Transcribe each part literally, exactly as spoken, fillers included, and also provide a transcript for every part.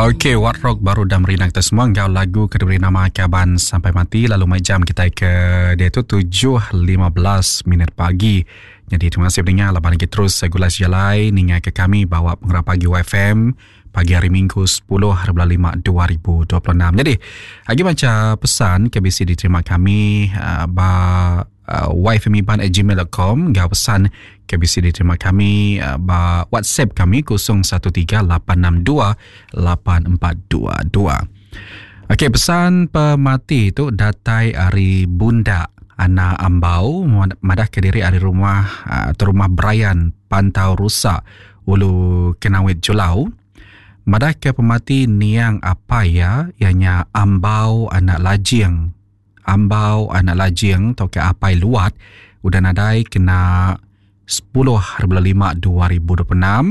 Okey, Wat Rock baru dah merindang kita semua enggau lagu ke diberi nama Kaban Sampai Mati lalu mai jam kita ke dia tu tujuh lima belas minit pagi. Jadi terima kasih pendengar laban lagi terus gulai sejalai ninga ke kami bawa pengerap pagi Y F M pagi hari Minggu sepuluh hari bulan lima dua ribu dua puluh enam. Jadi lagi baca pesan ke B C diterima kami uh, ba uh, y f m iban at gmail dot com enggau pesan ke B C diterima kami uh, ba WhatsApp kami kosong satu tiga lapan enam dua lapan empat dua dua. Okey, pesan pemati tu datai ari Bunda Ana Ambau madah ke diri ari rumah atau rumah Brian Pantau Rusak Ulu Kenawit Julau. Madah ke pemati niang apa ya ianya Ambau anak Lajing. Ambau anak Lajing atau ke apai Luat udah nadai kena sepuluh hari bulan lima dua ribu dua puluh enam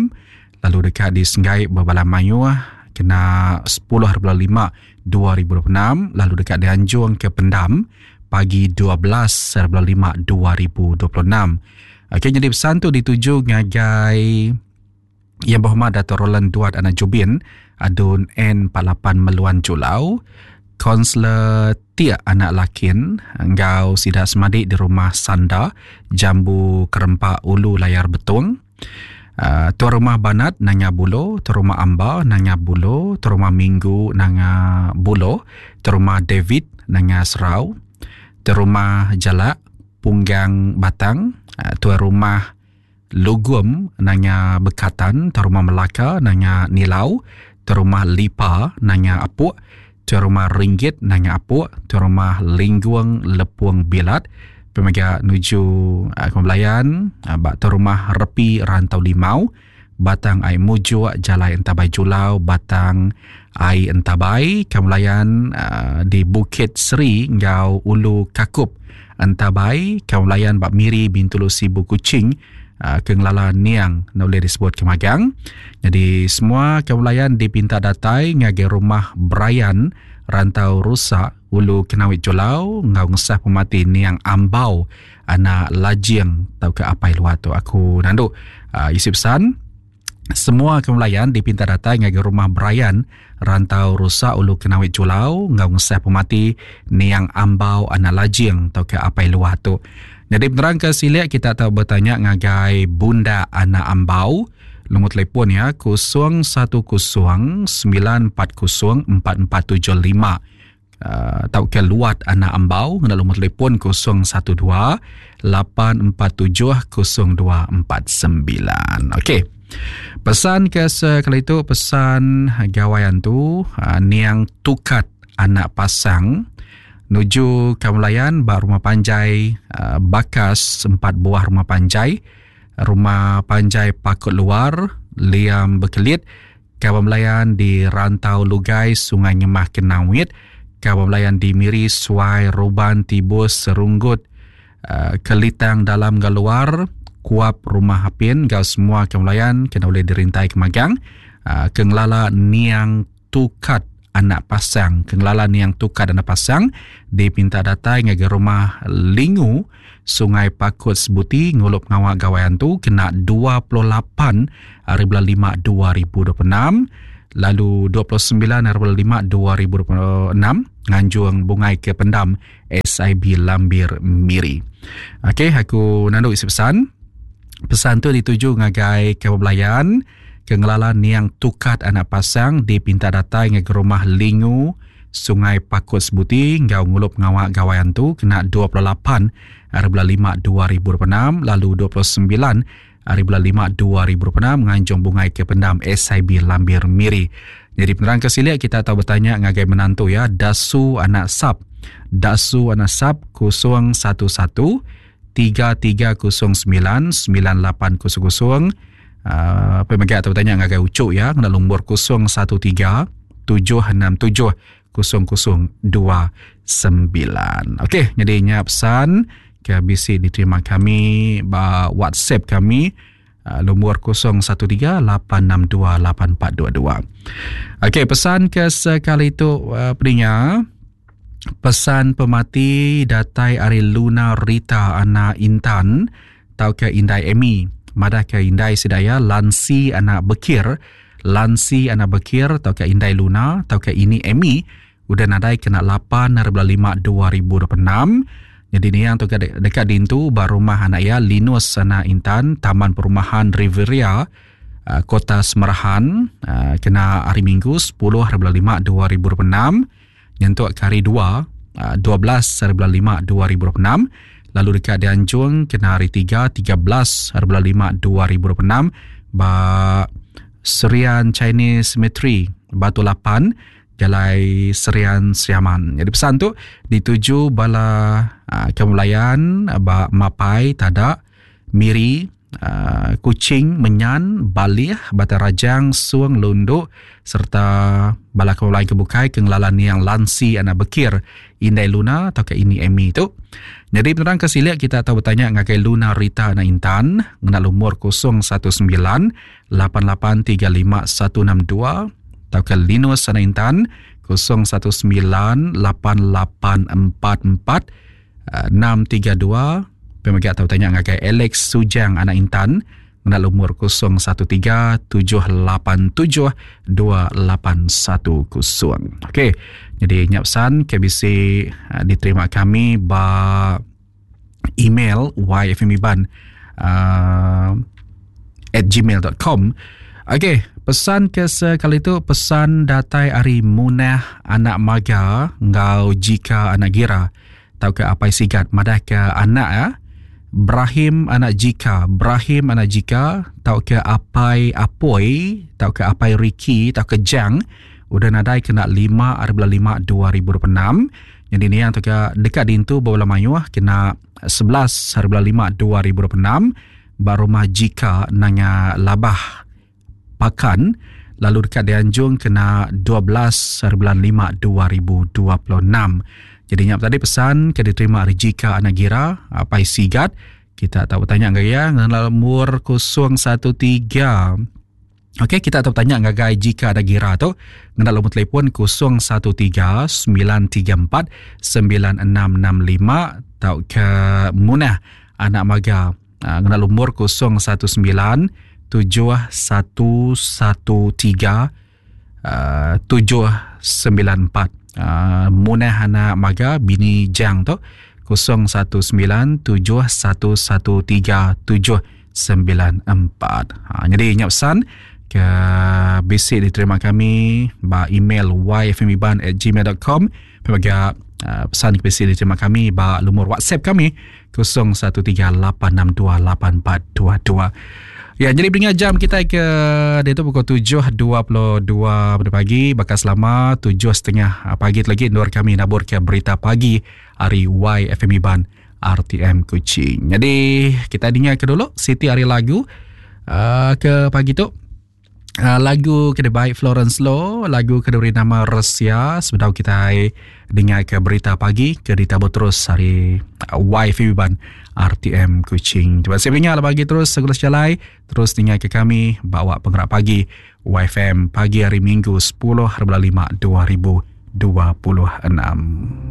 lalu dekat di Senggai Bebala Mayuh kena sepuluh hari bulan lima dua ribu dua puluh enam lalu dekat di Anjung ke Pendam pagi dua belas hari bulan lima dua ribu dua puluh enam. Okey, jadi pesan tu dituju ngagai Yang Berhormat Dato' Roland Duat Anak Jubin Adun N empat lapan Meluan Julau, Konselor Tiak Anak Lakin enggau Sida Semadik di Rumah Sanda Jambu Kerempak Ulu Layar Betung, uh, Tuan Rumah Banat Nanga Bulo, Tuan Rumah Amba Nanga Bulo, Tuan Rumah Minggu Nanga Bulo, Tuan Rumah David Nanga Serau, Tuan Rumah Jalak Punggang Batang, uh, Tuan Rumah Lugum Nanga Bekatan, Tuan Rumah Melaka Nanga Nilau, Tuan Rumah Lipa Nanga Apuk, Tuan Rumah Ringgit Nanga Apuk, Tuan Rumah Lingguang Lepung Bilat, Pemega nuju uh, Kembelayan, uh, bak Tuan Rumah Repi Rantau Limau, Batang Ai Mujuk Jalai Entabai Julau, Batang Ai Entabai, Kembelayan uh, di Bukit Seri enggau Ulu Kakup Entabai, Kembelayan bak Miri Bintulu Sibu Kuching, Uh, kengelala niang nak boleh disebut kemagang. Jadi semua kebelayan dipinta datai ngagai rumah Brian Rantau Rusak Ulu Kenawit Julau ngau ngesah pemati niang Ambau anak Lajing tau ke apai luar tu. Aku nandu uh, isi pesan semua kebelayan dipinta datai ngagai rumah Brian Rantau Rusak Ulu Kenawit Julau ngau ngesah pemati niang Ambau anak Lajing tau ke apai luar tu. Jadi penerang ke siliak kita tahu bertanya ngagai Bunda Anak Ambau. Nombor telefon ya kosong satu kosong sembilan empat kosong empat empat tujuh lima. Uh, tau ke Luat Anak Ambau ngena nombor telefon kosong satu dua lapan empat tujuh kosong dua empat sembilan. Okey. Pesan ke sekali itu pesan gawaian tu uh, niang Tukat Anak Pasang nuju Kamulayan bak rumah panjai uh, Bakas empat buah rumah panjai, rumah panjai Pakut Luar Liam Bekelit, Kamulayan di Rantau Lugai Sungai Ngemah Kenawit, Kamulayan di Miri Suai Ruban Tibus Serunggut uh, Kelitang Dalam Galuar Kuap Rumah Hapin gau semua Kamulayan kena boleh dirintai kemagang uh, kengelala niang Tukat Anak Pasang, kengelala niang Tukat Anak Pasang dipinta datai ngagai rumah Lingu Sungai Pakut Sebuti ngulup ngawak gawaian tu kena dua puluh lapan hari bulan lima dua ribu dua puluh enam lalu dua puluh sembilan hari bulan lima dua ribu dua puluh enam nganjung bungai ke pendam S I B Lambir Miri. Okey, aku nandu isi pesan. Pesan tu dituju ngagai kebelayan kengelala niang Tukat Anak Pasang dipinta datai ngagai rumah Lingu Sungai Pakut Sebuti enggau ngulup ngawak gawaian tu kena dua puluh lapan hari bulan lima dua ribu dua puluh enam lalu dua puluh sembilan hari bulan lima dua ribu dua puluh enam nganjung bungai ke pendam S I B Lambir Miri. Jadi penerang ke siliak kita tahu bertanya ngagai menantu ya Dasu Anak Sap. Dasu Anak Sap kosong satu satu tiga tiga kosong sembilan sembilan lapan kosong kosong. Uh, pemegang atau bertanya ngagai Ucuk ya kena nombor kosong satu tiga tujuh enam tujuh kosong kosong dua sembilan. Okey, jadi nya pesan ke B C diterima kami ba WhatsApp kami uh, nombor kosong satu tiga lapan enam dua lapan empat dua dua. Okey, pesan ke sekali tu uh, pendengar pesan pemati datai ari Luna Rita Anak Intan tau ke Indai Amy. Madah ke Indai Sidaya Lansi Anak Bekir Lansi anak Bekir tauka Indai Luna tauka Ini Amy udah nadai kena lapan hari bulan lima dua ribu dua puluh enam. Jadi niang tu dekat dintu ba rumah anak iya Linus anak Intan, Taman Perumahan Riviera, Kota Semerahan, kena hari Minggu sepuluh hari bulan lima dua ribu dua puluh enam nyentuk ke hari dua dua belas hari bulan lima dua ribu dua puluh enam, lalu dekat dianjung kena hari tiga tiga belas hari bulan lima dua ribu dua puluh enam ba Serian Chinese Cemetery Batu Lapan, Jalai Serian Seriaman. Jadi pesan tu dituju bala uh, kemulayan ba Mapai, Tadak, Miri, uh, Kuching, Menyan, Balih, Batang Rajang, Suang, Lunduk serta bala kemulayan kebukai ke ngelalan yang Lansi anak Bekir, Indai Luna atau ke Ini Amy tu. Jadi penerang ke silik kita tahu bertanya ngagai Luna Rita anak Intan ngena lumur kosong satu sembilan lapan lapan tiga lima satu enam dua atau ke Linus anak Intan kosong satu sembilan lapan lapan empat empat enam tiga dua. Pemegak tahu tanya ngagai Alex Sujang anak Intan ngena lumur kosong satu tiga tujuh lapan tujuh dua lapan satu kosong. Okey, jadi nyap pesan K B C diterima kami ba email y f m iban uh, at gmail dot com. Okey, pesan ke sekali tu pesan datai ari Munah anak Maga ngau Jika anak Gira tau ke Apai Sigat madah ke anak ya Brahim anak Jika, Brahim anak Jika tau ke Apai Apoi tau ke Apai Ricky tau ke Jang udah nadai kena lima hari bulan lima dua ribu dua puluh enam. Jadi ni yang tu ke dekat dintu bola mayuh kena sebelas hari bulan lima dua ribu dua puluh enam ba rumah Jika nanga Labah Pakan, lalu dekat dianjung kena dua belas hari bulan lima dua ribu dua puluh enam. Jadi nyap tadi pesan ke diterima ari Jika anak Gira Apai Sigat. Kita tak bertanya ngagai ya ngena nomor kosong satu tiga. Okey, kita tak bertanya ngagai Jika anak Gira tu ngena nombor telefon kosong satu tiga sembilan tiga empat sembilan enam enam lima tau ke Munah anak Maga ngena nomor kosong satu sembilan tujuh satu satu tiga tujuh sembilan empat. Uh, Munah anak Maga bini Jang tu kosong satu sembilan tujuh satu satu tiga tujuh sembilan empat. Ha, jadi ingat pesan ke basic diterima kami ba email y f m iban at gmail dot com. Bagi uh, pesan ke basic diterima kami ba lumur WhatsApp kami kosong satu tiga lapan enam dua lapan empat dua dua. Ya, jadi beringat jam kita ke dia tu pukul tujuh dua puluh dua pada pagi, bakal selama tujuh setengah pagi lagi nur kami nabur ke berita pagi hari Y F M Iban R T M Kuching. Jadi kita dengar ke dulu Siti hari lagu uh, ke pagi tu. Uh, lagu kena baik Florence Low, lagu kena beri nama Resia. Sebentar kita dengar ke berita pagi ke ditabur terus hari Y F M Iban R T M Kuching. Terima kasih mendengar bagi terus segala sejalai, terus dengar ke kami bawa penggerak pagi Y F M pagi hari Minggu sepuluh hari bulan lima dua ribu dua puluh enam.